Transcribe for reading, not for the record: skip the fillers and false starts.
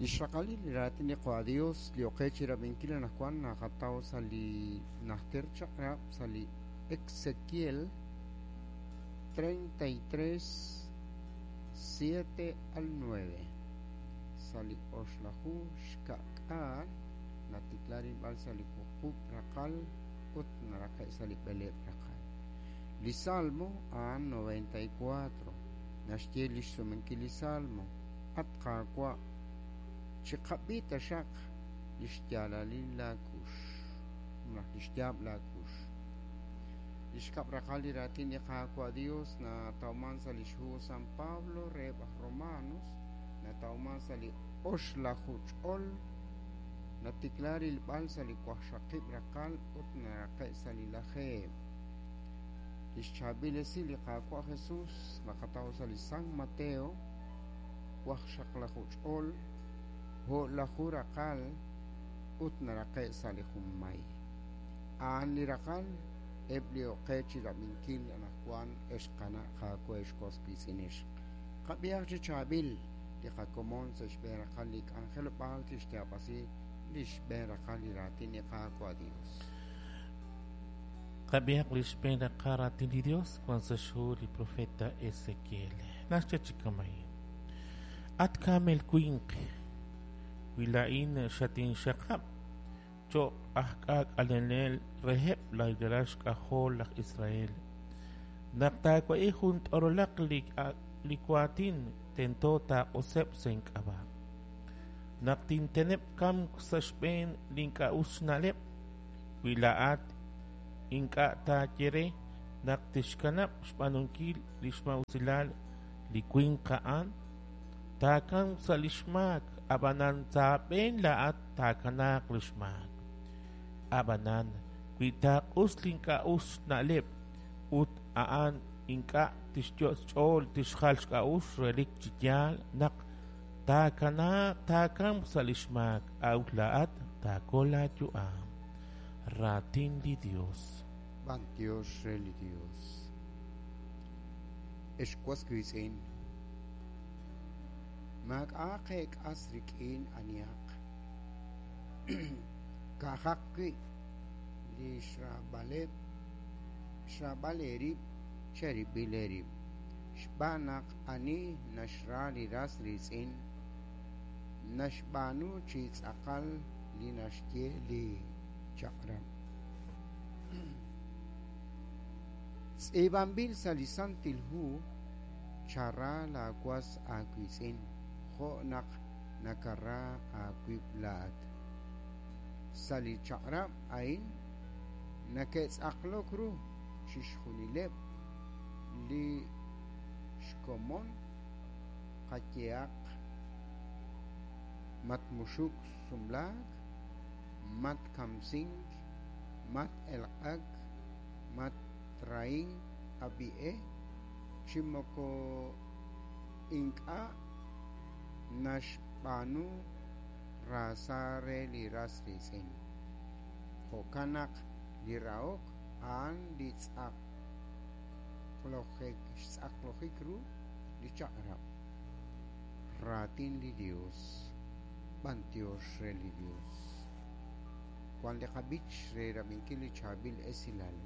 Li xraqalil li raatin li Qaawa' Dios li oqe chi rab'inkil anaqwan naqataw sa' li Najter Chaq'rab' sa' li Ezequiel 33, 7 al 9. Sa' li oxlaju xka'k'aal natikla rilb'al sa' li wuqub' raqal ut naraqe' sa' li b'eleeb' raqal. Li Salmo a'an 94. Naxye lix sumenkil li Salmo, At Qaawa', chiqab'i taxaq lix yaalalil laa kux, malaj lix yaab' laa kux. Li xkab' raqal li raatin li Qaawa' Dios natawman sa' lix hu San Pablo reheb' aj Romanos, natawman sa' li oxlaju ch'ol, natikla rilb'al sa' li waqxaqib' raqal ut naraqe' sa' li lajeeb'. Lix chaab'il esil li Qaawa' Jesus naqataw sa' li San Mateo, waqxaqlaju ch'ol, o'laju raqal ut naraqe' sa' li junmay. A'an li raqal eb' li oqe chi rab'inkil anaqwan ex qana' qaawa' ex was wiitz'in ixq. Qab'ihaq chi chaab'il li qakomon sa' xb'een raqal li k'anjelob'aal tixyaab'asi li xb'een raqal li raatin li Qaawa' Dios. Qab'ihaq li xb'een raqal raatin li Dios wan sa' xhu li profeta Ezequiel. Naxye chi kama'in: At kaamel winq, wi laa'in xatinxaqab' cho'q aj k'aak'alenel reheb' laj ralal xk'ajol laj Israel, naq taawa'i jun t'orolaq li waatin tento taaq'useb' sa' ink'ab'a'. Naq tinteneb' kamk sa' xb'een li ink'a' us xna'leb', wi laa'at ink'a' taaye re naq tixkanab' xb'aanunkil li xmaa'usilal li winq a'an, taakamq sa' li xmaak, ab'anan sa' aab'een laa'at taakanaaq li xmaak. Ab'anan wi taaq'us li ink'a' us xna'leb' ut a'an ink'a' tixyot' xch'ool tixjal xk'a'uxl, relik chi yaal naq taakanaaq taakamq sa' li xmaak, a'ut laa'at taakol laayu'am. Raatin li Dios. B'antiox re li Dios. Ex was wiitz'in, maak'a'aq eek'as rik'in anihaq, ka'ajaq wi' li xraab'aleb' xraab'al eerib' cherib'il eerib', xb'aan naq ani naxra li ras riitz'in, naxb'aanu chi tz'aqal li naxye li chaq'rab'. Tz'iib'anb'il sa' li Santil Hu, Chara laawas aawiitz'in jo' naq nakara aawib' laa'at. Sa' li chaq'rab' a'in nake'tz'aqlok ru chixjunileb' li xkomon qayehaq matmuxuk sumlaak, matkamsink, mat-elq'ak, matrahink ab'i e, chi moko ink'a' naxb'aanu raasa re li ras riitz'in. Jo'kan naq li rahok a'an li xtz'aqlojik ru li chaq'rab'. Raatin li Dios. B'antiox re li Dios. Wan li qab'ich re rab'inkil li chaab'il esilal.